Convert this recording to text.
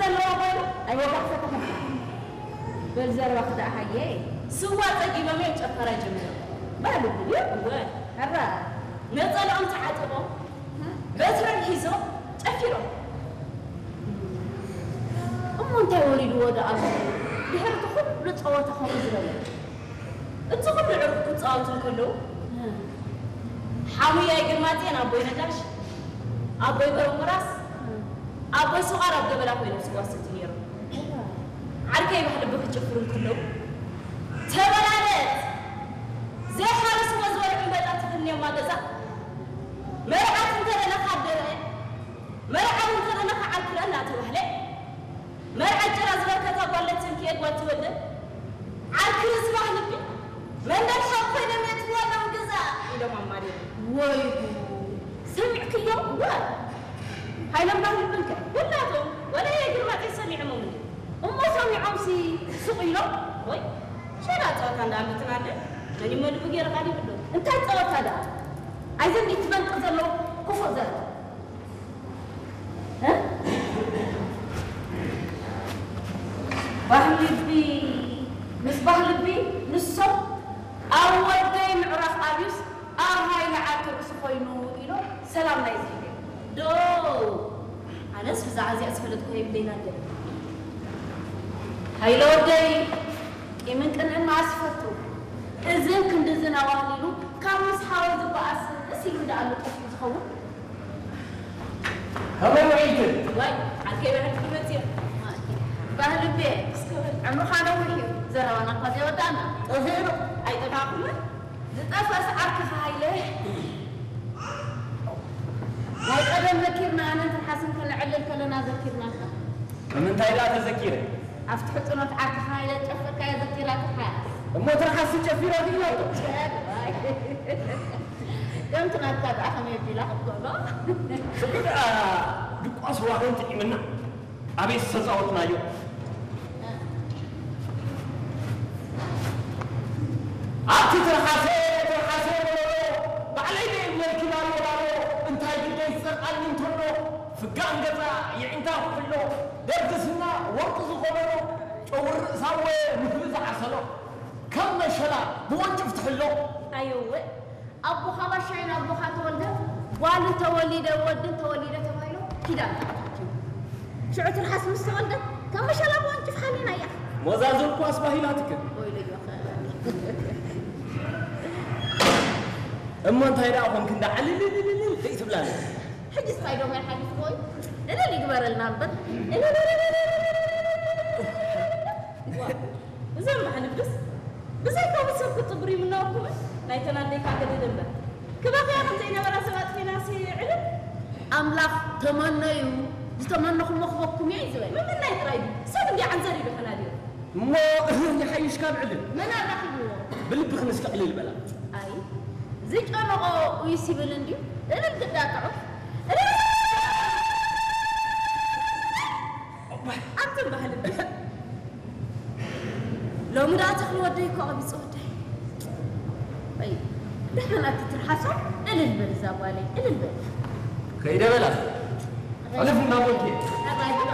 ዘለዋ ጓሉ ኣይወጋሕፈተኹም። በል ዘረባኺ ደኣ ሃየ። ስዋ ጸጊቦም እዮም ጨፈራ ጀሚሮም። በሉ ብልዩ። እወ። ሕራ። ነጸልኦም ተዓጠቦም፣ በትሮም ሒዞም ጨፊሮም። እሞ እንታይ ወሪድዎ ደኣ ኣሎ? ድሕሪ እቲ ኩሉ ጸወታ ከምኡ ዝበለ? እቲ ኩሉ ዕሩብ ክጻወቱ እንከለዉ፣ ሓሙያይ ግርማጽዮን ኣቦይ ነጋሽ፣ ኣቦይ በረንጎራስ፣ ኣቦይ ሱቓር ኣብ ገበላ ኮይኖም ዝጓሰቱ ነይሮም። ዓርከይ ባህሊ ብክጭፍሩ እንከለዉ፣ ተበላለጽ፣ ዘይሓረስዎ ዝበልዑ እምበጣ ትፍንዮማ ገዛ፣ መርዓት እንተደለኻ ኣደረአ፣ መርዓዊ እንተደለኻ ዓርክረን እናተባህለ፣ መርዓ ጭራ ዝበርከታ ጓል ለትንክየ ጓል ትወልደ፣ ዓርኪ ርዝባ ልቢ፣ መንደል ሓው ኮይኖም የእትውዋ ኣለዉ ገዛ ኢሎም ኣማሪሮም። ወይ ጉድ! ሰሚዕክዮ? እወ። ሃይሎም ባህሊ ብልከ? ኩላቶም፣ ወላ የግርማጤ ሰሚዖሞም እንዲ። እሞ ሰሚዖምሲ ሱቕ ኢሎም? ወይ፣ ሸላ ጸወታ እንዳኣምልትና ኣለ። መን ይመልኡ ገይረ ቃል ይብሉ። እንታይ ጸወታ ደኣ? ኣይዘን ትበልቂ ዘለዉ ክፉእ ዘረባ። እ? ባህልቢ፣ ምስ ባህልቢ ንሶም ኣብ ወደይ ምዕራፍ ኣብዩስ ኣብ ሃይለ ዓርኪ ርእሲ ኮይኑ ኢሎም ሰላም ናይ ዝህብ። ዶ፣ ኣነስ ብዛዕባ እዚኣ ዝፈለጥኩ የብለይን ኣደ። ሃይለ ወደይ፣ ቂምን ቅንእን መኣስ ይፈቱ። እዝን ክንድዝን ኣዋህሊሉ ካብ ምስ ሓወ ዝበኣስ እስ ኢሉ እንዳኣሉ ጠፊኡ ዝኸውን። ከመይ ውዒልክን? ዋይ፣ ዓርከይ ብሕልፊ መጽዮ። ባህልቤ፣ እስከ በል። ዕምርኻ ነዊሕ እዩ። ዘረባና እኳ ዘይወዳእና። ጠፊኡ ዶ? ኣይጠፋእኩምን። ዝጠፍአስ ዓርክኻ ሃይለ። ናይ ቀደም ዘኪርና፣ ኣነን ትርሓስን ከነዕልል ከለና ዘኪርናካ። ንምንታይ ደኣ ተዘኪረ? ኣብቲ ሕጽኖት ዓርክኻ ሃይለ ዝጨፈርካዮ ዘኪራትኻ እያ። እሞ ትርሓስ ጨፊራ ክኢላ እኮ። ጨርባይ። ከምቲ ናትካ ደኣ ከመይ ኣቢላ ክትጎሎ? ሽዑ ደኣ ድቋስ ዋህን ጥዒምና ኣበይ ዝተጻወትናዮ? ኣብቲ ትርሓሰ፣ ትርሓሰ በሎ፣ ባዕለይ ደይ ብለልኪ ባሎ፣ ባሎ፣ እንታይ ግደይ ዝጸርቃኒ እንተሎ፣ ፍጋን ገጻ የዒንታ ኩሕሎ፣ ደርጊ ስና ወርቂ ዝኾበሮ፣ ጨጉሪ ርእሳ ወ ንህቢ ዝዓሰሎ፣ ከም መሸላ ብወንጭፍ ትሕሎ። ኣየወ፣ ኣቦኻ ባሻይን ኣቦኻ ተወልደ ጓልን ተወሊደ ወድን ተወሊደ ተባሂሉ ኪዳን ተኣታትዩ። ሽዑ ትርሓስ ምስ ተወልደ ከም መሸላ ብወንጭፍ ሓሊና እያ። ሞዛዙ እኳ ኣስባሂላትክን። ወይለዮ ኸ። እሞ እንታይ ደኣ ኾንክ እንዳ ዓልልልልልል ዘይትብላኒ? ሕጅስ ታይ ዶ ማይ ሓሊፍዎ እዩ? እልል ይግበረልና እምበር። እልል። ዋ፣ እዞም ኣሕልፍስ ብዘይካ ሰብ ክትጽብሩ ይምነወኩም። ናይተን ኣዴካ ገድል እምበር። ክበኽያ ከም ዘይነበራ ሰብ ኣጥፊናሲ ዕልል። ኣምላኽ ተመነዩ፣ ዝተመነኹሞ ክበኩም እየ እዩ ዝበለ። ምምናይ ጥራይ ድዩ? ሰብ እንዲ ዓንዘር ኢሉ ከናድዮ። እሞ ይሓይሽ ካብ ዕልል። መን ኣራኺብዎ? ብልብኽን እስኪ ዕልል በላ። ኣይ፣ ዝጨነቖ ኡይ ሲብል እንድዩ። እልል ግዳ ጥዑም። እልል! ኣንተ ባህል እንዲ። ሎሚ ደኣ ተኽሊ ወደይ እኮ ቀቢጹ ወደይ። ኣይ፣ ደሓን ኣቲ ትርሓሶ፣ እልል በል እዛ ጓለይ፣ እልል በል። ከይደ በላ። ሕልፍ እንዳበልኪ። ኣባይ ብሎ።